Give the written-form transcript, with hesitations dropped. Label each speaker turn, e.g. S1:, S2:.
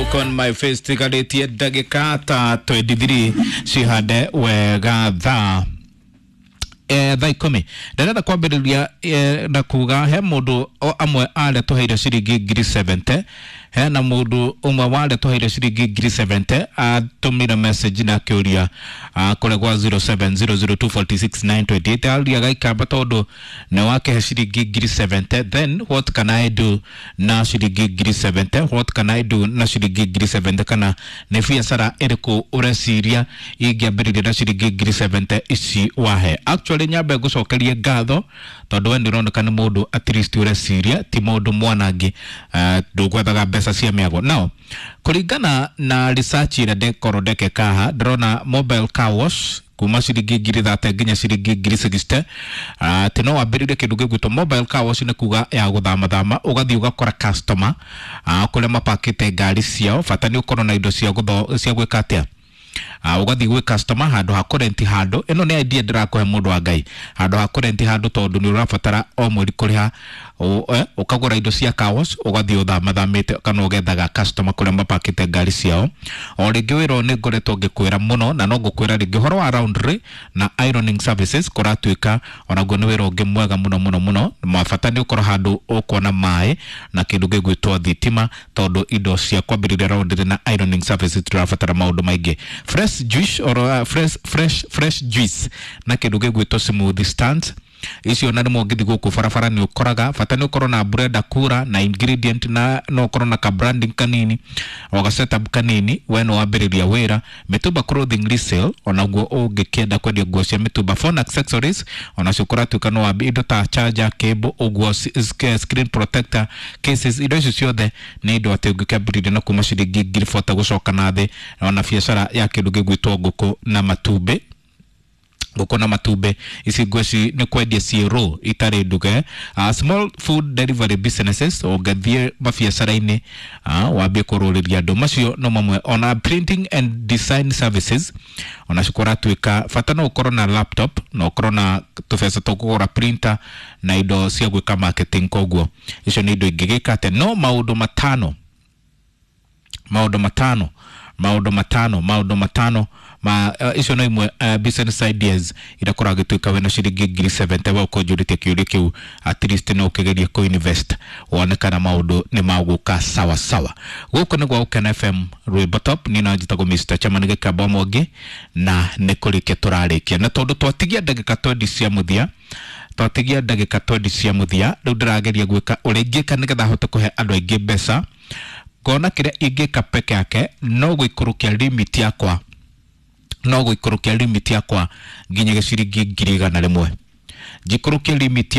S1: Look on my face tigarĩtie ndagĩka ta 23 cihande wega thaa 10:00. Ndĩrenda kwambĩrĩria na kuga he mũndũ o amwe arĩa tũheire ciringi 70,000. Hena mũndũ ũmwe warĩa tũheire ciringi 70,000 atũmire message na akĩũria kũrĩa gwa 0700246928 aria gaikamba tondũ nĩ wakĩhe ciringi 70,000, then what can I do na ciringi 70,000? What can I do na ciringi 70,000? Kana nĩ biacara ĩrĩkũ ũreciria ingĩambĩrĩria na ciringi 70,000 ici wahe? Actually nyambe ngũcokerie ngatho tondũ we nĩ ũroneka nĩ mũndũ at least ũreciria, ti mũndũ mwanangi, ndũgwethaga mbeca cia mĩago. Now kũringana na research ĩrĩa ndekorwo ndekeka haha, ndĩrona mobile car wash kuma ciringi 30,000 nginya ciringi 60,000, atĩ no wambĩrĩrie kĩndũ gĩgwĩtwo mobile car wash, nĩ kuga ya gũthamathama, ũgathiĩ ũgakora customer kũrĩa mapakĩte ngari ciao, bata nĩ ũkorwo na indo cia cia gwĩka atĩa, ũgathiĩ gwĩ customer handũ ha kũrenti handũ. Ĩno nĩ idea ndĩrakũhe, mũndũ wa Ngai, handũ ha kũrenti handũ, tondũ nĩ ũrabatara o mweri kũrĩha, ũkagũra indo cia car wash, ũgathiĩ ũthamathamĩte kana ũgethaga customer kũrĩa mapakĩte ngari ciao. O rĩngĩ wĩra ũyũ nĩ ngoretwo ngĩkwĩra mũno na no ngũkwĩra rĩngĩ, ũhoro wa laundry na ironing services kũratuĩka onaguo nĩ wĩra ũngĩ mwega mũno mũno mũno. Mabata nĩ ũkorwo handũ ũkuona maĩ na kĩndũ gĩgwĩtwo thitima, tondũ indo cia kwambĩrĩria laundry na ironing services tũrabatara maũndũ maingĩ. Fresh juice or fresh juice na kĩndũ gĩgwĩtwo smoothie stands, icio na rĩmwe ũngĩthiĩ gũkũ barabara nĩ ũkoraga, bata nĩ ũkorwo na blender kura na ingredient na no ũkorwo na ka branding kanini o ga setup kanini, we no wambĩrĩria wĩra. Mĩtumba clothing resale, onaguo ũngĩkĩenda kwendia nguo cia mĩtumba. Phone accessories onacio kũratuĩka no wambie, indo ta charger cable ũguo, screen protector cases, indo icio ciothe nĩ indo atĩ ũngĩkĩambĩrĩria na kuma ciringi 40,000 gũcoka na thĩ. Ona biacara ya kĩndũ gĩgwĩtwo ngũkũ na matumbĩ, ngũkũ na matumbĩ ici ngweci nĩ kwendia ciĩ raw itarĩ nduge. Small food delivery businesses, ũngĩthiĩ mabiacara-inĩ wambie kũrũrĩria andũ, macio no mamwe. Ona printing and design services onacio kũratuĩka bata no ũkorwo na laptop na ũkorwo na tũbeca tũkũgũra printer na indo cia gwĩka marketing. Koguo icio nĩ indo ingĩgĩka atĩa. No maũndũ matano, maũndũ matano, maũndũ matano, maũndũ matano ma icio no imwe business ideas iria koragwo gĩtuĩka wĩna ciringi 70,000 we ũkũnjũrĩtie kĩũria kĩu, at least no ũkĩgerie kũ-invest wone kana maũndũ nĩ magũka sawa sawa. Gũkũ nĩ gwa Gũkena FM, rwĩmbo top. Niĩ no njĩtagwo Mr. Chairman Gĩkamba Mwangi, na nĩ kũrĩkia tũrarĩkia, na tondũ twatigia ndagĩka 20 cia mũthia, twatigia ndagĩka 20 cia mũthia, rĩu ndĩrageria gwĩka ũrĩa ingĩka nĩgetha hote kũhe andũ aingĩ mbeca. Ngona kĩrĩa ingĩka peke yake no gũikũrũkia limit yakwa, no gũikũrũkia limit yakwa nginya ciringi 100,000, njikũrũkie limit.